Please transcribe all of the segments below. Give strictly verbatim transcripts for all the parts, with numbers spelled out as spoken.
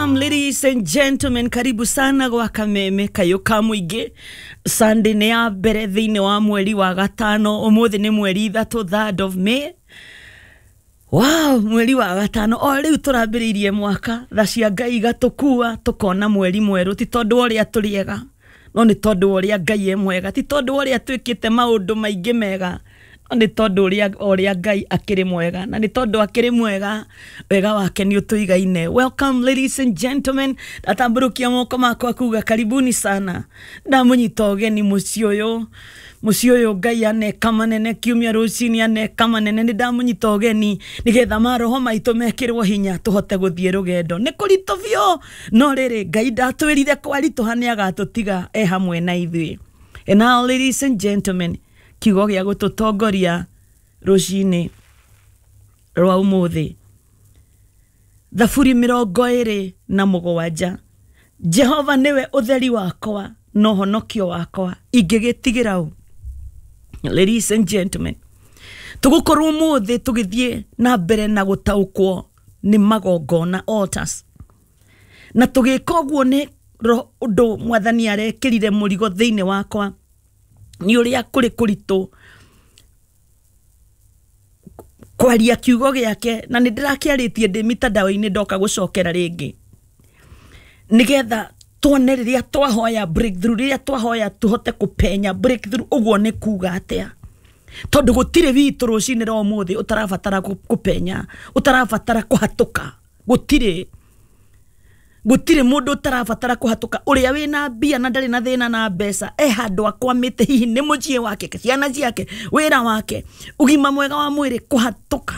Welcome ladies and gentlemen, karibu sana gwa Kameme Kayo ka Mũingĩ. Sunday nĩ ya mbere thĩinĩ wa mweri wa gatano, ũmũthĩ nĩ mweri ithatũ, third of May. Wow, mweri wa gatano o rĩu tũrambĩrĩirie mwaka, tha cia Ngai igatũkua tũkona mweri mwerũ, ti tondũ wa ũrĩa tũrĩ ega, no nĩ tondũ wa ũrĩa Ngai e mwega, ti tondũ wa ũrĩa twĩkĩte maũndũ maingĩ mega, no nĩ tondũ ũrĩa ũrĩa Ngai akĩrĩ mwega, na nĩ tondũ akĩrĩ mwega, wega wake nĩ ũtũigaine. Welcome ladies and gentlemen, ndatambũrũkia moko makwa kuga karibuni sana, ndamũnyita ũgeni mũciĩ ũyũ, mũciĩ ũyũ Ngai aneka manene, kiumia rũcinĩ aneka manene, nĩ ndamũnyita ũgeni nĩgetha maroho maitũ mekĩrwo hinya tũhote gũthiĩ rũgendo. Nĩ kũritũ biũ, no rĩrĩ Ngai ndatwĩrire kwaritũha nĩ agatũtiga e hamwe na ithuĩ. And now ladies and gentlemen, kiugo gĩa gũtũtongoria rũcinĩ rwa ũmũthĩ, Thaburi mĩrongo ĩrĩ na mũgwanja. Jehova nĩwe ũtheri wakwa na ũhonokio wakwa, ingĩgĩtigĩra ũ? Ladies and gentlemen, tũgũkorwo ũmũthĩ tũgĩthiĩ na mbere na gũtaũkwo nĩ magongona, altars, na tũgĩka ũguo nĩ ũndũ mwathani arekĩrire mũrigo thĩinĩ wakwa nĩ ũrĩa kũrĩ kũritũ kwaria kiugo gĩake, na nĩ ndĩrakĩarĩtie ndĩ mitandao-inĩ ndoka gũcokera rĩngĩ, nĩgetha tuone rĩrĩa twahoya breakthrough, rĩrĩa twahoya tũhote kũpenya breakthrough, ũguo nĩ kuga atĩa? Tondũ gũtirĩ witũ rũcinĩ rwa ũmũthĩ ũtarabatara kũpenya, ũtarabatara kũhatũka, gũtirĩ gũtirĩ mũndũ ũtarabatara kũhatũka. Ũrĩa wĩna mbia na ndarĩ na thĩna na mbeca, e handũ akwamĩte, hihi nĩ mũciĩ wake, ciana ciake, wĩra wake, ũgima mwega wa mwĩrĩ, kũhatũka.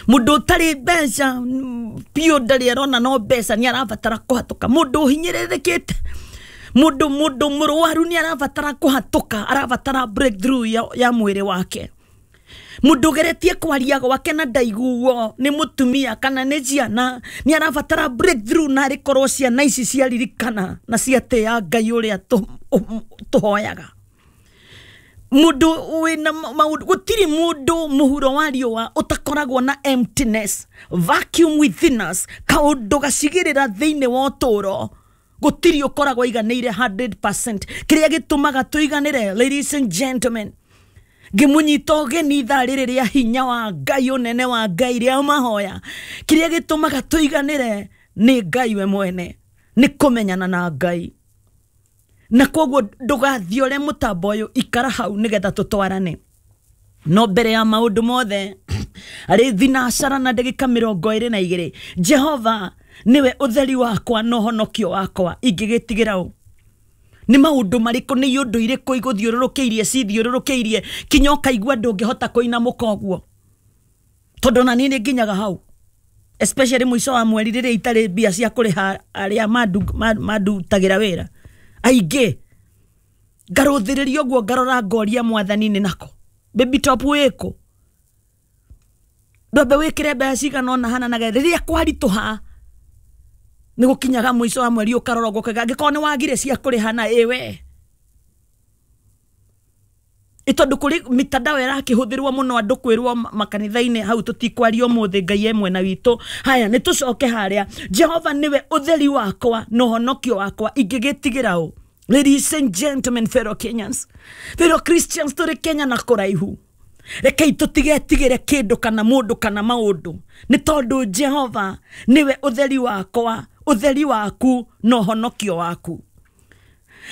Mũndũ ũtarĩ mbeca biũ, ndarĩ arona no mbeca, nĩ arabatara kũhatũka. Mũndũ ũhinyĩrĩrĩkĩte, mũndũ mũndũ mũrwaru nĩ arabatara kũhatũka, arabatara breakthrough ya, ya mwĩrĩ wake. Mũndũ ũgeretie kwaria gwake na ndaiguo nĩ mũtumia kana nĩ ciana, nĩ arabatara breakthrough, na arĩkorwo ciana ici ciaririkana na ciatĩa Ngai ũrĩa tũhoyaga. Mũndũ wĩna maũndũ, gũtirĩ mũndũ mũhuro wa riũa ũtakoragwo na emptiness, vacuum within us, kaũndũ gacigĩrĩra thĩinĩ wa ũtũũro, gũtirĩ ũkoragwo aiganĩire hundred percent. Kĩrĩa gĩtũmaga tũiganĩre, ladies and gentlemen, ngĩmũnyita ũgeni ithaa rĩrĩ rĩa hinya wa Ngai, ũnene wa Ngai, rĩa mahoya, kĩrĩa gĩtũmaga tũiganĩre nĩ Ngai we mwene, nĩ kũmenyana na Ngai. Na koguo ndũgathiore mũtambo ũyũ, ikara hau nĩgetha tũtwarane. No mbere ya maũndũ mothe, arĩ thinacara na ndagĩka mĩrongo ĩrĩ na igĩrĩ, Jehova nĩwe ũtheri wakwa na ũhonokio wakwa, ingĩgĩtigĩra ũ? Nĩ maũndũ marĩkũ, nĩ ũndũ irĩkũ igũthiũrũrũkĩirie, cithiũrũrũkĩirie kinya ũkaigua ndũngĩhota kũinamũka ũguo? Tondũ na niĩ nĩ nginyaga hau, especially mũico wa mweri rĩrĩa itarĩ mbia cia kũrĩha arĩa mandutagĩra wĩra aingĩ, ngarũthĩrĩria ũguo, ngarora ngoria mwathani nĩ nako baby top wĩkũ, ndwambe wĩkĩre mbeca cigana ũna hana, na rĩrĩa kwaritũha nĩ gũkinyaga mũico wa mweri ũkarora ũguo ũkauga angĩkorwo nĩ wagire cia kũrĩha na ĩwe, tondũ kũrĩ mitandao ĩrakĩhũthĩrwo mũno andũ kwĩrwo makanitha-inĩ, hau tũtikwaria ũmũthĩ, Ngai e mwena witũ. Haya, nĩ tũcoke harĩa, Jehova nĩwe ũtheri wakwa na ũhonokio wakwa, ingĩgĩtigĩra ũ? Ladies and gentlemen, fellow Kenyans, fellow Christians, tũrĩ Kenya na kũraihu, rekei tũtigetigĩre kĩndũ kana mũndũ kana maũndũ, nĩ tondũ Jehova nĩwe ũtheri wakwa, ũtheri waku na ũhonokio waku.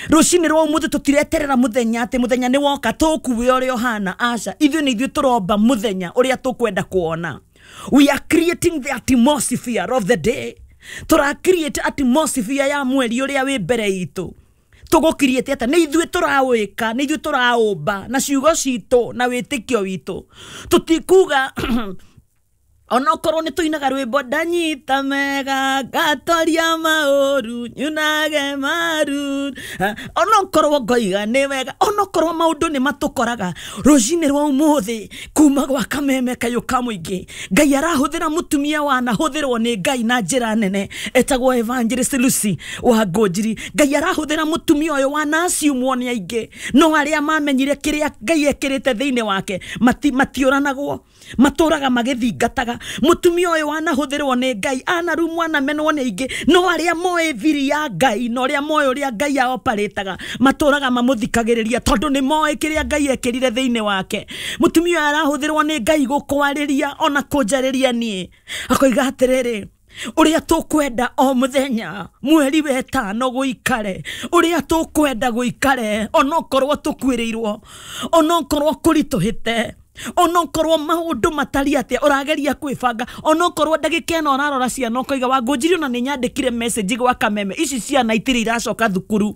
Rũcinĩ rwa ũmũthĩ tũtireterera mũthenya atĩ mũthenya nĩ woka tũkuwe ũrĩa ũhana, aca, ithuĩ nĩ ithuĩ tũromba mũthenya ũrĩa tũkwenda kuona. We are creating the atmosphere of the day. Tũra create atmosphere ya mweri ũrĩa wĩ mbere itũ. Tũgũkiriĩte atĩa? Nĩ ithuĩ tũrawĩka, nĩ ithuĩ tũraũmba na ciugo citũ na wĩtĩkio witũ. Tũtikuga onokorwo nĩ tũinaga rwĩmbo ndanyita mega ngatoria maũru nyunage maru, onokorwo ngoiga nĩ wega, onokorwo maũndũ nĩ matũkoraga rũcinĩ rwa ũmũthĩ kuma gwa Kameme Kayũ ka Mũingĩ, Ngai arahũthĩra mũtumia wanahũthĩrwo nĩ Ngai na njĩra nene etagwo Evangelist Lucy wa Ngũnjiri. Ngai arahũthĩra mũtumia ũyũ wanaciumwo nĩ aingĩ, no arĩa mamenyire kĩrĩa Ngai ekĩrĩte thĩinĩ wake matiũranagwo, matũraga magĩthingataga. gwĩka. Mũtumia ũyũ wanahũthĩrwo nĩ Ngai, anarumwo anamenwo nĩ aingĩ, no arĩa moĩ thiri ya Ngai na ũrĩa moĩ ũrĩa Ngai aoparĩtaga matũraga mamũthikagĩrĩria tondũ nĩ moĩ kĩrĩa Ngai ekĩrire thĩinĩ wake. Mũtumia ũyũ arahũthĩrwo nĩ Ngai gũkwarĩria ona kũnjarĩria niĩ, akoiga atĩrĩrĩ, ũrĩa tũkwenda o mũthenya mweri wetano gũikare, ũrĩa tũkwenda gũikare onokorwo tũkuĩrĩirwo, onokorwo kũritũhĩte, onokorwo maũndũ matari atĩa ũrageria kwĩbanga, onokorwo ndagĩka ĩno ũrarora ciana ũkoiga Wangũnjiri ona nĩ nyandĩkire message gwa Kameme, ici ciana itirĩ iracoka thukuru.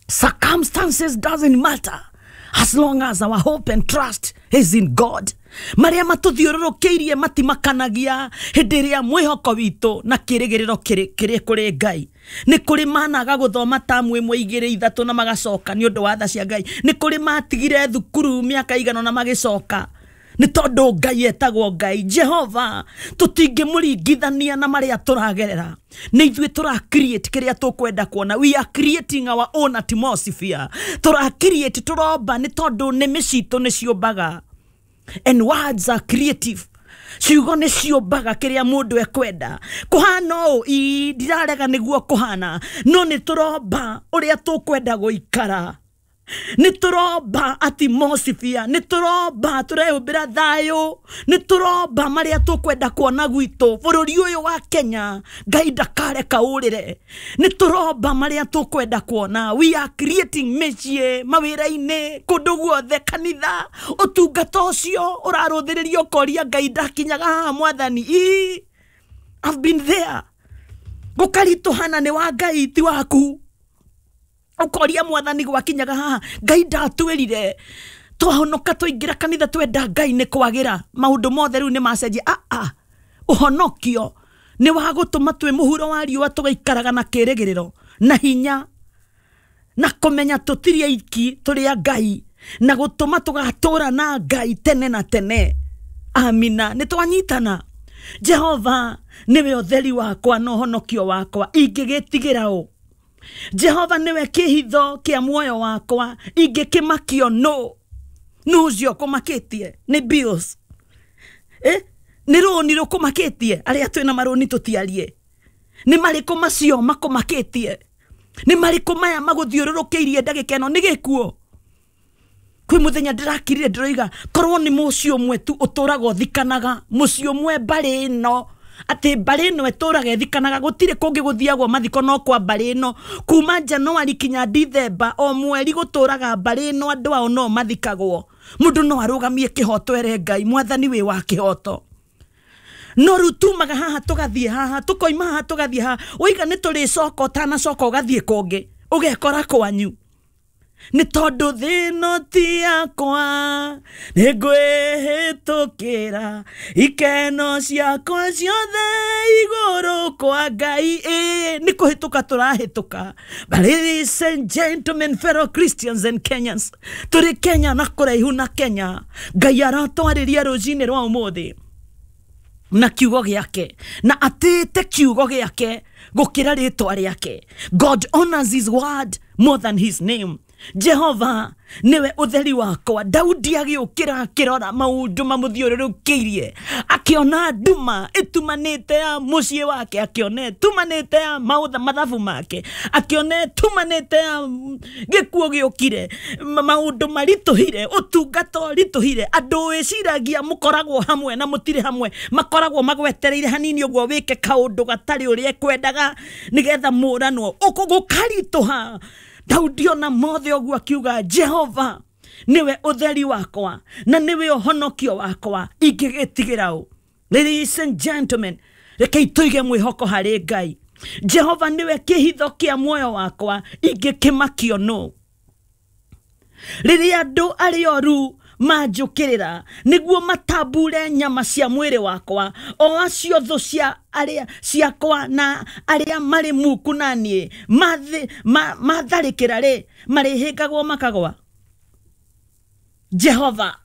Circumstances doesn't matter as long as our hope and trust is in God. Marĩa matũthiũrũrũkĩirie matimakanagia hĩndĩ ĩrĩa mwĩhoko witũ na kĩrĩgĩrĩro kĩrĩ kũrĩ Ngai. Nĩ kũrĩ managa gũthoma tamu ĩmwe igĩrĩ ithatũ na magacoka nĩ ũndũ wa tha cia Ngai. Nĩ kũrĩ matigire thukuru mĩaka igana na magĩcoka nĩ tondũ Ngai etagwo Ngai. Jehova tũtingĩmũringithania na marĩa tũragerera. Nĩ ithuĩ tũra create kĩrĩa tũkwenda kuona. We are creating our own atmosphere. Tũra create, tũromba nĩ tondũ nĩmĩ citũ nĩ ciũmbaga. And words are creative. Ciugo nĩ ciũmbaga kĩrĩa mũndũ ekwenda. Kũhana ũũ, ii ndirarega nĩguo kũhana, no nĩ tũromba ũrĩa tũkwenda gũikara. Nĩ tũromba atmosphere, nĩ tũromba tũrehumbĩra thayũ, nĩ tũromba marĩa tũkwenda kuona gwitũ bũrũri ũyũ wa Kenya. Ngai ndakareka ũrĩre. Nĩ tũromba marĩa tũkwenda kuona. We are creating mĩciĩ, mawĩra-inĩ, kũndũ guothe, kanitha, ũtungata ũcio ũrarũthĩrĩrio ũkoria Ngai ndakinyaga haha mwathani. Ii, I've been there. Gũkaritũhana nĩ wa Ngai ti waku. Ũkoria mwathani gwakinyaga haha, Ngai ndatwĩrire twahonoka twaingĩra kanitha twenda Ngai nĩ kwagĩra maũndũ mothe rĩu nĩ macenjia. Ah, ah, ũhonokio nĩ wa gũtũma twĩ mũhuro wa riũa tũgaikaraga na kĩrĩgĩrĩro na hinya na kũmenya tũtirĩ aiki tũrĩ a Ngai na gũtũma tũgatũra na Ngai tene na tene. Amina. Nĩ twanyitana. Jehova nĩwe ũtheri wakwa na ũhonokio wakwa, ingĩgĩtigĩra ũ? Jehova nĩwe kĩhitho kĩa muoyo wakwa, ingĩkĩmakio nũ? Nũ ũcio ũkũmakĩtie? Nĩ bills. Eh? Nĩ rũni rũkũmakĩtie? Arĩa twĩna marũni tũtiarie. Nĩ marĩkũ macio makũmakĩtie? Nĩ marĩkũ maya magũthiũrũrũkĩirie ndagĩka ĩno? Nĩ gĩkuũ. Kwĩ mũthenya ndĩrakirire ndĩroiga korwo nĩ mũciĩ ũmwe tu ũtũraga ũthikanaga, mũciĩ ũmwe mbarĩ ĩno, atĩ mbarĩ ĩno ĩtũraga ĩthikanaga, gũtirĩ kũngĩ gũthiagwo mathiko no kwa mbarĩ ĩno. Kuma Januari kinya Dithemba o mweri gũtũraga mbarĩ ĩno andũ ao no mathikagwo. Mũndũ no arũgamie kĩhoto ere Ngai, mwathani wĩ wa kĩhoto. No rĩu tumaga haha tũgathiĩ haha, tũkoima haha tũgathiĩ haha, waiga nĩ tũrĩcoka ũtanacoka ũgathiĩ kũngĩ, ũgekora kwanyu. Nĩ tondũ thĩ ĩno ti yakwa, nĩ ngwĩhĩtũkĩra ikeno ciakwa ciothe igũrũ kwa Ngai. Ĩ nĩ kũhĩtũka tũrahĩtũka. But ladies and gentlemen, fellow Christians and Kenyans, tũrĩ Kenya na kũraihu na Kenya, Ngai aratwarĩria rũcinĩ rwa ũmũthĩ na kiugo gĩake, na atĩte kiugo gĩake gũkĩra rĩtwa rĩake. God honors his word more than his name. Jehova niwe utheri wakwa. Daudi agĩũkĩra akĩrora maũndũ mamũthiũrũrũkĩirie, akĩona nduma ĩtumanĩte ya mũciĩ wake, akĩona ĩtumanĩte ya maũtha mathabu make, akĩona ĩtumanĩte ya gĩkuũ gĩũkire, maũndũ maritũhire, ũtungata ũritũhire, andũ wĩciragia mũkoragwo hamwe na mũtirĩ hamwe, makoragwo magwetereire hanini ũguo wĩke kaũndũ gatarĩ ũrĩa ekwendaga nĩgetha mũranwo, gũkaritũha. Daudi ona mothe ũguo akiuga Jehova niwe utheri wakwa na niwe ũhonokio wakwa, ingĩgĩtigĩra ũ? Ladies and gentlemen, rekei tũige mwĩhoko harĩ Ngai. Jehova niwe kĩhitho kĩa muoyo wakwa, ingĩkĩmakio nũ? Rĩrĩa andũ arĩa oru manjũkĩrĩra nĩguo matambure nyama cia mwĩrĩ wakwa, o acio thũ cia arĩa ciakwa na arĩa marĩ muku na niĩ matharĩkĩra rĩ, marĩhĩngagwo makagwa. Jehova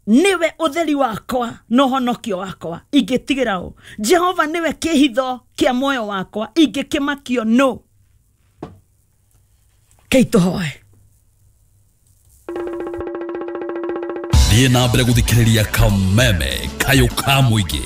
niwe utheri wakwa na ũhonokio wakwa, ingĩtigĩra ũ? Jehova niwe kĩhitho kĩa muoyo wakwa, ingĩkĩmakio nũ? Kei tũhoe. Thiĩ na mbere gũthikĩrĩria Kameme Kayũ ka Mũingĩ.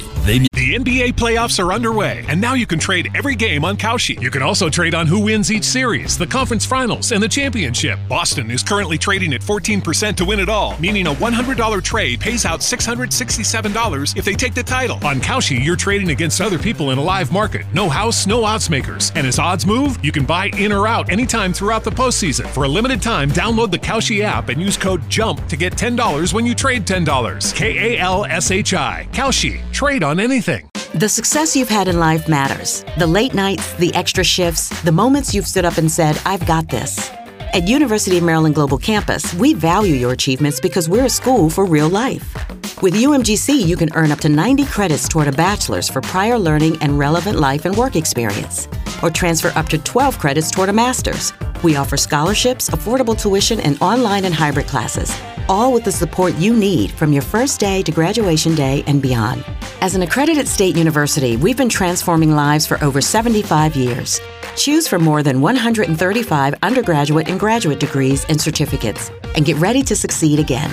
The N B A playoffs are underway, and now you can trade every game on Kalshi. You can also trade on who wins each series, the conference finals, and the championship. Boston is currently trading at fourteen percent to win it all, meaning a one hundred dollar trade pays out six hundred sixty-seven dollars if they take the title. On Kalshi, you're trading against other people in a live market. No house, no odds makers. And as odds move, you can buy in or out anytime throughout the postseason. For a limited time, download the Kalshi app and use code JUMP to get ten dollars when you trade ten dollars. K A L S H I. Kalshi. Trade on anything. The success you've had in life matters. The late nights, the extra shifts, the moments you've stood up and said, I've got this. At University of Maryland Global Campus, we value your achievements because we're a school for real life. With U M G C, you can earn up to ninety credits toward a bachelor's for prior learning and relevant life and work experience, or transfer up to twelve credits toward a master's. We offer scholarships, affordable tuition, and online and hybrid classes, all with the support you need from your first day to graduation day and beyond. As an accredited state university, we've been transforming lives for over seventy-five years. Choose from more than one hundred thirty-five undergraduate and graduate degrees and certificates, and get ready to succeed again.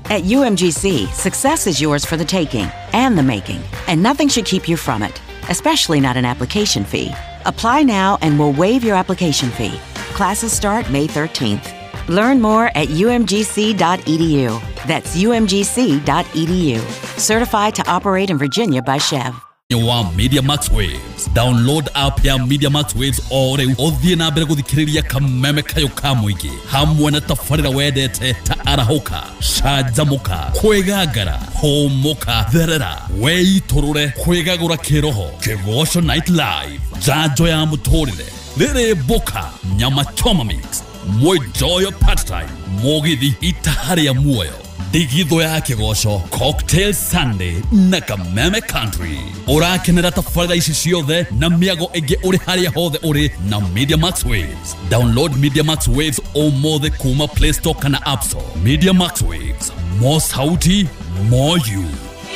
At U M G C, success is yours for the taking and the making, and nothing should keep you from it, especially not an application fee. Apply now and we'll waive your application fee. Classes start May thirteenth. Learn more at U M G C dot E D U. That's U M G C dot E D U. Certified to operate in Virginia by Chev. Wa Media Max Waves. Download app ya Media Max Waves o rĩu ũthiĩ na mbere gũthikĩrĩria Kameme Kayũ ka Mũingĩ hamwe na tabarĩra wendete ta arahũka, canjamũka, kwĩgangara, hũmũka, therera, weitũrũre, kwĩgagũra kĩroho, Kĩgoco Night Live, njanjo ya mũtũrĩre, rĩrĩ mboka, nyama choma mix, mwenjoyo part time, mũgithi itaha rĩa muoyo, ndigithũ ya kĩgoco, Cocktail Sunday na Kameme Country. Ũrakenera tabarĩra ici ciothe na mĩago ĩngĩ ũrĩ harĩa hothe ũrĩ na Media Max Waves. Download Media Max Waves ũmũthĩ kuma Play Store kana App Store. Media Max Waves, more sauti, more you.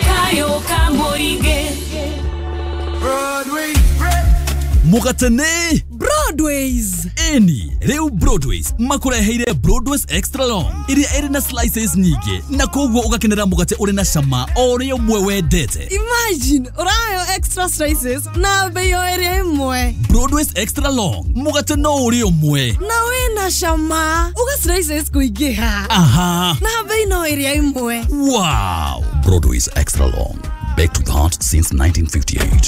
Kayo ka Mũingĩ. Broadway. Mũgatene Broadways. Eni rĩu Broadways makũreheire Broadways Extra Long ĩrĩa ĩrĩ na slices nyingĩ na koguo ũgakenera mũgate ũrĩ na cama o ũrĩa ũmwe wendete. Imagine ũrayo extra slices na bei o ĩrĩa ĩmwe. Broadways Extra Long mũgate no ũrĩa ũmwe na wĩna cama uga slices kũingĩha. Aha, na bei no ĩrĩa ĩmwe. Wow, Broadways Extra Long, baked with heart since nineteen fifty-eight.